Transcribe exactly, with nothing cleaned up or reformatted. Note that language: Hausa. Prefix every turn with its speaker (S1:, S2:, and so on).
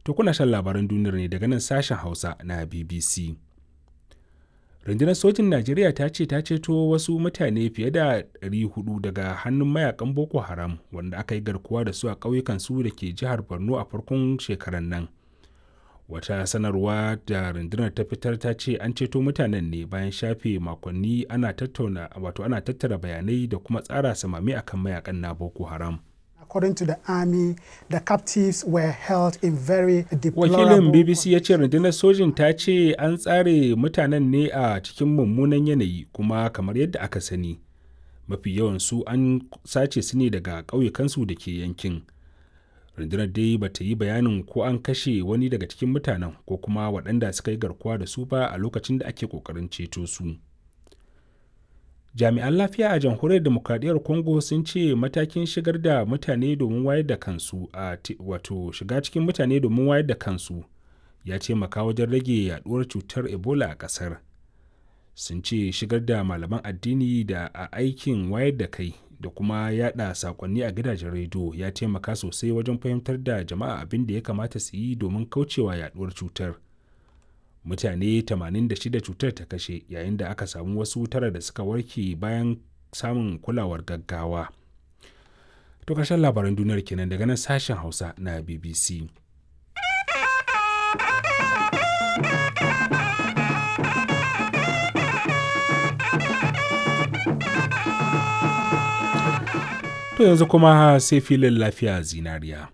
S1: To kuna shan labaran duniyar ne daga nan sashen Hausa na B B C. Rundunar sojin Najeriya ta ce ta ceto wasu mutane fiye da ɗari huɗu daga hannun mayakan Boko Haram wanda aka yi garkuwa da su a ƙauyukan su da ke jihar Borno a farkon shekarar nan. Wata sanarwa da rundunar ta fitar ta ce an ceto mutanen ne bayan shafe makonni ana tattauna, wato ana tattara bayanai da kuma tsara samame akan mayakan na Boko Haram.
S2: According to the army, the captives were held in very
S1: Wakilin
S2: deplorable
S1: B B C ya ce rundunar sojin ta ce an tsare mutanen ne a cikin mummunan yanayi, kuma kamar yadda aka sani, mafi yawan su an sace su ne daga ƙauyukansu da ke yankin. Rundunar dai ba ta yi bayanin ko an kashe wani daga cikin mutanen ko kuma waɗanda suka yi garkuwa da su ba a lokacin da ake ƙoƙarin ceto su. Jami'an lafiya a Jamhuriyar Demokradiyyar Congo sun ce matakin shigar da mutane domin wayar da kansu a wato shiga cikin mutane domin wayar da kansu ya taimaka wajen rage yaduwar cutar Ebola a kasar. Sun ce shigar da malaman addini da a aikin wayar da kai da kuma yada sakonni a gidajen rediyo ya taimaka sosai wajen fahimtar da jama'a abin da ya kamata su yi domin kaucewa yaduwar cutar. Mutane tamanin da shida cutar ta kashe, yayin da aka samu wasu tara da suka warke bayan samun kulawar gaggawa. To karshen labaran duniyar kenan daga nan sashen Hausa na B B C. To yanzu kuma sai filin Lafiya Zinariya.